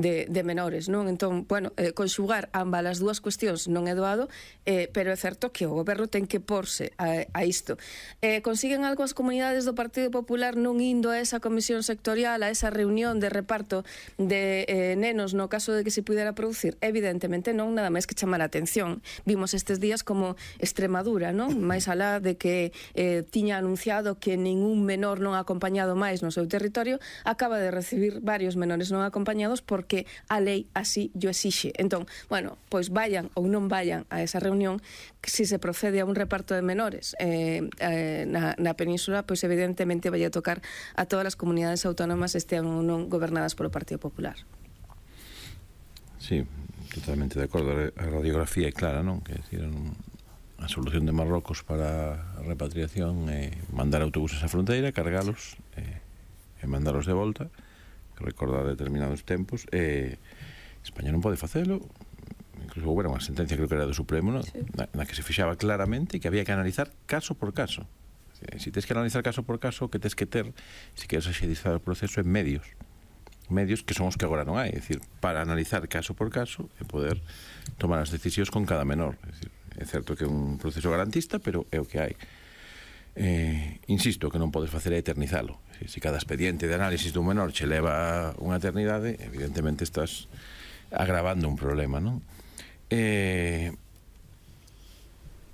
de menores, non? Entón, bueno, conxugar ambas as dúas cuestións non é doado, pero é certo que o goberno ten que porse a isto. Consiguen algo as comunidades do Partido Popular non indo a esa comisión sectorial, a esa reunión de reparto de nenos no caso de que se pudera producir? Evidentemente non, nada máis que chamar a atención. Vimos estes días como Extremadura, non? Máis alá de que tiña anunciado que ningún menor non acompañado máis no seu territorio, acaba de recibir varios menores non acompañados porque a lei así yo exixe. Entón, bueno, pois vayan ou non vayan a esa reunión, si se procede a un reparto de menores na península, pois evidentemente vai a tocar a todas as comunidades autónomas, estean ou non gobernadas polo Partido Popular. Sí, totalmente de acordo. A radiografía é clara, non? Que decir, a solución de Marrocos para a repatriación é mandar autobuses á fronteira, cargalos e mandalos de volta, recordar determinados tempos. España non pode facelo. Incluso houve unha sentencia, creo que era do Supremo, ¿no? Sí. na que se fixaba claramente que había que analizar caso por caso. Si tens que analizar caso por caso, o que tens que ter, se queres axilizar o proceso, en medios que son os que agora non hai, é dicir, para analizar caso por caso e poder tomar as decisións con cada menor. É dicir, é certo que é un proceso garantista, pero é o que hai. Insisto, que non podes facer é eternizalo. Se cada expediente de análisis dun menor che leva unha eternidade, evidentemente estás agravando un problema, non?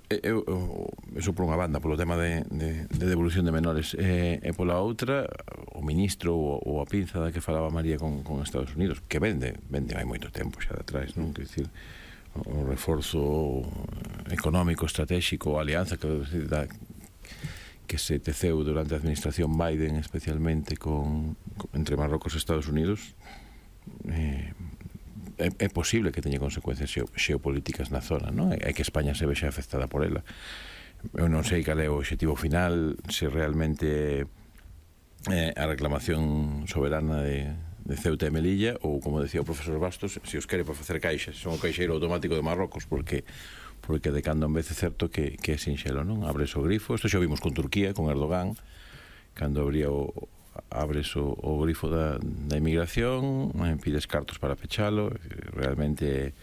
Eso por unha banda, polo tema de devolución de menores, e pola outra, o ministro ou a pinza da que falaba María con Estados Unidos, que vende hai moito tempo xa de atrás, non? Quer dicir, o reforzo económico, estratégico, a alianza que se teceu durante a administración Biden, especialmente entre Marrocos e Estados Unidos, é posible que teña consecuencias xeopolíticas na zona, non? É que España se vexa afectada por ela. Eu non sei cal é o obxectivo final, se realmente a reclamación soberana de Ceuta e Melilla, ou, como decía o profesor Bastos, se os quere para facer caixas, son o caixeiro automático de Marrocos, porque de cando en vez é certo que é sinxelo, non? Abres o grifo, isto xa vimos con Turquía, con Erdogan, cando abres o grifo da inmigración, pides cartos para pechalo, realmente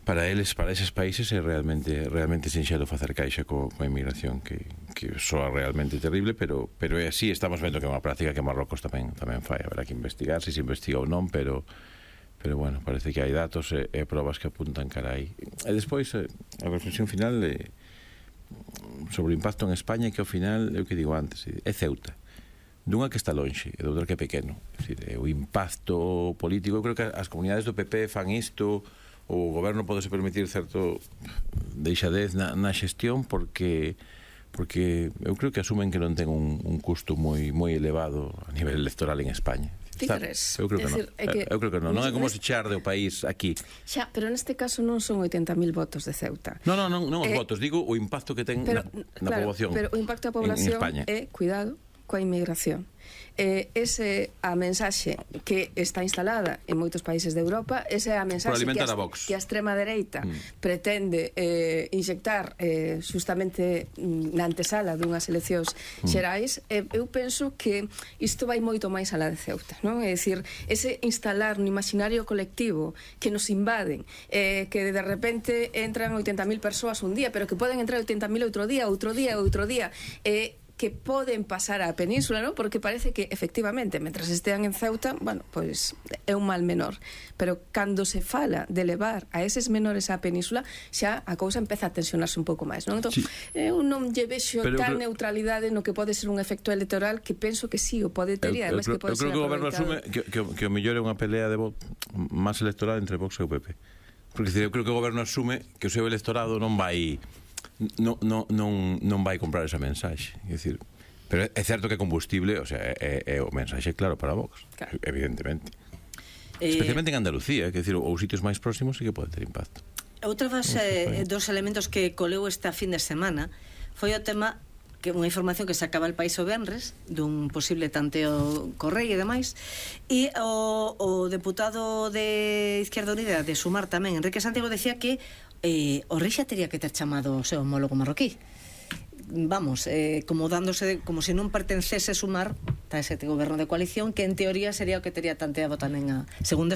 para eses países é realmente sinxelo facer caixa coa inmigración, que soa realmente terrible, pero é así. Estamos vendo que é unha práctica que Marrocos tamén fai. Haberá que investigar se investiga ou non, pero bueno, parece que hai datos e probas que apuntan cara aí. E despois, a reflexión final sobre o impacto en España, que ao final, é o que digo antes, é Ceuta, dunha que está lonxe e doutra que é pequeno. É dicir, o impacto político, eu creo que as comunidades do PP fan isto, o goberno pode se permitir certo deixadez na xestión porque eu creo que asumen que non ten un custo moi elevado a nivel electoral en España. Eu creo que non. Non é como se charde o país aquí. Xa, pero neste caso non son 80.000 votos de Ceuta. Non os votos, digo o impacto que ten na poboación. Pero o impacto da poboación é, cuidado, coa inmigración. A mensaxe que está instalada en moitos países de Europa, esa é a mensaxe que a extrema dereita pretende inxectar justamente na antesala dunhas eleccións xerais. Eu penso que isto vai moito máis alá de Ceuta, non? É dicir, ese instalar no imaginario colectivo que nos invaden, que de repente entran 80.000 persoas un día, pero que poden entrar 80.000 outro día, que poden pasar á península, non? Porque parece que, efectivamente, mentras estean en Ceuta, bueno, pois é un mal menor. Pero cando se fala de levar a eses menores á península, xa a cousa empeza a tensionarse un pouco máis, non? Entón, eu non lle vexo tal neutralidade no que pode ser un efecto electoral, que penso que sí, o pode ter, e además que pode ser aproveitado. Eu creo que o goberno asume que o mellor é unha pelea de máis electoral entre Vox e o PP. Porque eu creo que o goberno asume que o seu electorado non vai comprar esa mensaxe, é dicir, pero é certo que é combustible, o sea, é o mensaxe claro para Vox, claro. Evidentemente, especialmente en Andalucía, que decir, ou sitios máis próximos sí que pode ter impacto. Outra dos elementos que coleu esta fin de semana foi o tema, que unha información que sacaba el País o venres dun posible tanteo Correi e demais, e o deputado de Izquierda Unida de Sumar tamén, Enrique Santiago, decía que o rei xa tería que ter chamado o seu homólogo marroquí. vamos, como dándose, como se non pertencese Sumar a ese goberno de coalición, que en teoría sería o que tería tanteado tamén a, segundo